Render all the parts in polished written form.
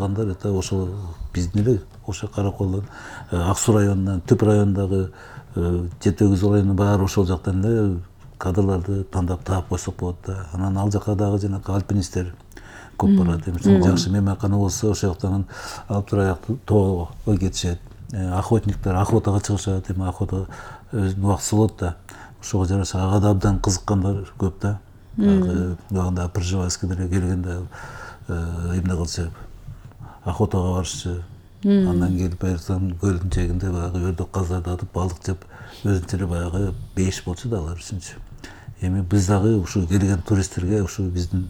калгандар это ошо биздин эле ошо Караколдон Ак Суу районунан Түп районундагы 7-8 райондун баары ошол жактан эле кадрларды тандап таап койсок болот да. Анан ал жака дагы жанагы альпинисттер көп барат. Жакшы мейманкана болсо ошол жактан алып турайык тоого кетишет. Охотниктер охотага чыгышат, эми охота өзүнүн убактысы болот да. Ошого жараша ага да абдан кызыккандар көп да. Багында Пржевальскийдер келгенде эмне кылчу, охотага барышчу. Андан келип Айыртан көлдүн жээгинде баягы өрдөк каздарды атып балык жеп өзүнчө эле баягы бейиш болчу да алар үчүнчү. Эми биз дагы ушул келген туристтерге ушул биздин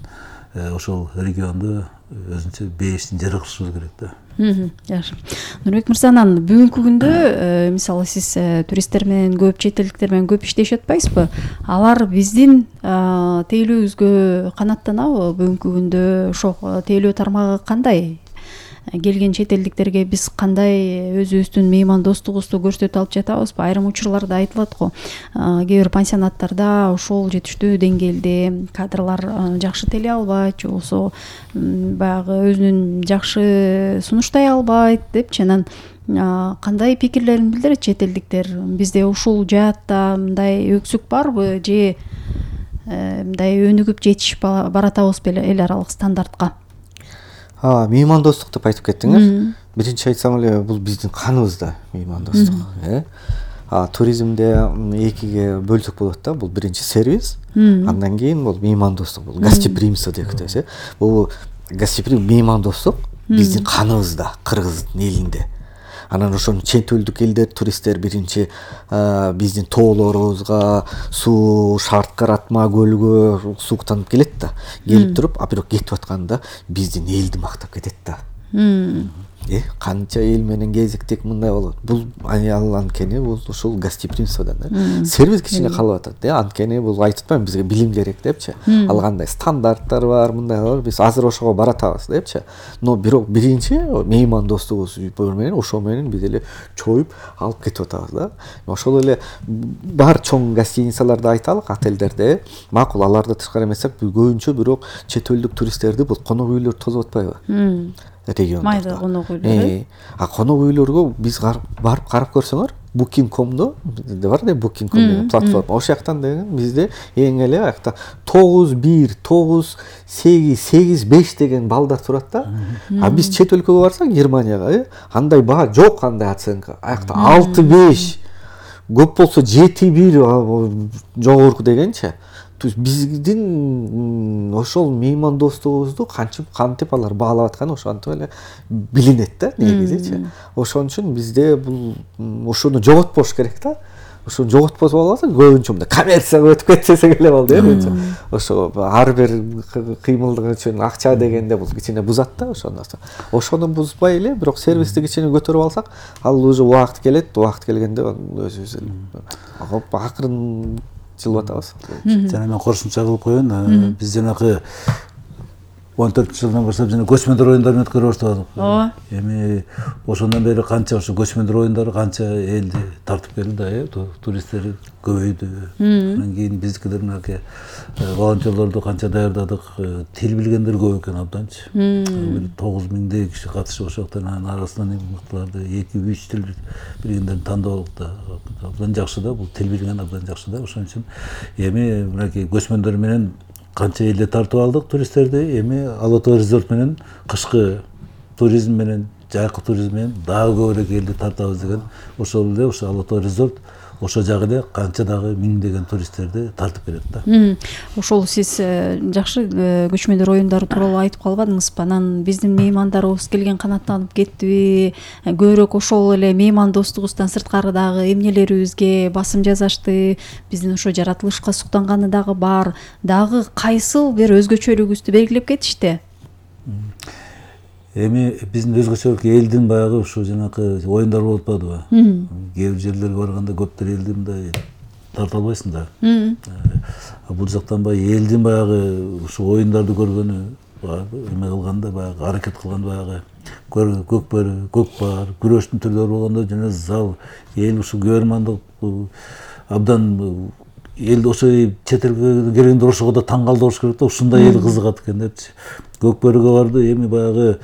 ошол регионду өзүнчө бейиштин жери кылышыбыз керек да. Жакшы. Нурбек мырза, анан бүгүнкү күндө мисалы сиз туристтер менен көп, чет элдиктер менен көп иштешип атпайсызбы? Алар биздин тейлөөбүзгө канааттанабы бүгүнкү күндө? Ошо тейлөө тармагы кандай? Келген чет элдиктерге биз кандай өзүбүздүн меймандостугубузду көрсөтүп алып жатабызбы? Айрым учурларда айтылат го. Кээ бир пансионаттарда ошол жетиштүү деңгээлде кадрлар жакшы телей албайт, же болбосо баягы өзүнүн жакшы сунуштай албайт депчи. Анан кандай пикирлерин билдирет чет элдиктер? Бизде ушул жаатта мындай өксүк барбы, же мындай өнүгүп жетишип баратабызбы эл аралык стандартка? Меймандостук деп айтып кеттиңер. Биринчи айтсам эле бул биздин каныбызда меймандостук. Туризмде экиге бөлсөк болот да. Бул биринчи сервис, андан кийин бул меймандостук, бул гостеприимство деп атабыз. Бул гостеприимство, меймандостук биздин каныбызда, кыргыздын элинде. Анан ошону чет элдик элдер, туристтер биринчи биздин тоолорубузга, суу, Шарткаратма көлгө сууктанып келет да. Келип туруп, бирок кетип атканда биздин элди мактап кетет да. Канча эл менен кезиктик мындай болот. Бул анткени бул ушул гостеприимстводан да. Сервис кичине калып атат. Анткени бул айтып атпаймынбы, бизге билим керек депчи. Ал кандай стандарттар бар, мындай бар. Биз азыр ошого баратабыз депчи. Но бирок биринчи меймандостугубуз менен ошо менен биз эле чоюп алып кетип атабыз да. Ошол эле бар чоң гостиницаларды айталык, отелдерде макул, аларды тышкары эмесек, көбүнчө бирок чет элдик туристтерди бул конок үйлөр тосуп атпайбы? Региондарда. Майда конок үйлөр. Конок үйлөргө биз барып карап көрсөңөр, Booking.com'do бар да, Booking.com деген платформа. Ошол жактан деген бизде эң эле аякта 91, 98, 85 деген балдар турат да. Биз чет өлкөгө барсак, Германияга, андай баа жок, андай оценка. Аякта 6-5, көп болсо 7-1 жогорку дегенчи. Биздин ошол меймандостугубузду кантип алар баалап атканы ошентип эле билинет да негизичи. Ошон үчүн бизде бул ошону жоготпош керек да. Ошону жоготпосо болбосо көбүнчө мындай коммерцияга өтүп кетсек эле болду ошо ар бир кыймылдык үчүн акча дегенде бул кичине бузат да ошону бузбай эле, бирок сервисти кичине көтөрүп алсак, ал уже убакыт келет, убакыт келгенде өзүбүз акырын жылып атабыз. Жана мен кошумча кылып коеюн, биз жанагы 14-жылдан баштап жана көчмөндөр оюндарын өткөрө баштадык. Эми ошондон бери канча ошо көчмөндөр оюндары канча элди тартып келди да, туристтер көбөйдү. Андан кийин биздикилер мынакей волонтерлорду канча даярдадык, тил билгендер көп экен абданчы. 9000 киши катышып ошоктон, анын арасынан мыктыларды 2-3 тил билгендерди тандап алдык да. Абдан жакшы да, бул тил билген абдан жакшы да. Ошон үчүн эми мынакей көчмөндөр менен канча элди тартып алдык туристтерди. Эми Ала Тоо резорт менен кышкы туризм менен, жайкы туризм менен дагы көбүрөөк элди тартабыз деген ошол эле ошо Ала Тоо резорт ошо жагы эле канча дагы миңдеген туристтерди тартып келет да. Ошол сиз жакшы көчмөндөр оюндары тууралуу айтып калбадыңызбы? Анан биздин меймандарыбыз келген канааттанып кеттиби? Көбүрөөк ошол эле меймандостугубуздан сырткары дагы эмнелерибизге басым жасашты? Биздин ошо жаратылышка суктанганы дагы бар. Дагы кайсыл бир өзгөчөлүгүбүздү белгилеп кетишти? Эми биздин өзгөчөлүк элдин баягы ушу жанакы оюндар болуп атпадыбы? Кээ бир жерлерге барганда көптөр элди мындай тарта албайсың да. Бул жактан баягы элдин баягы ушу оюндарды көргөнү, эме кылганда баягы аракет кылганда баягы көкпар, күрөштүн түрлөрү болгондо жана зал эл ушу көрмандык абдан эл ошо чет элге келгендер ошого да таң калдырыш керек да, ушундай эл кызыгат экен депчи. Көкбөрүгө барды, эми баягы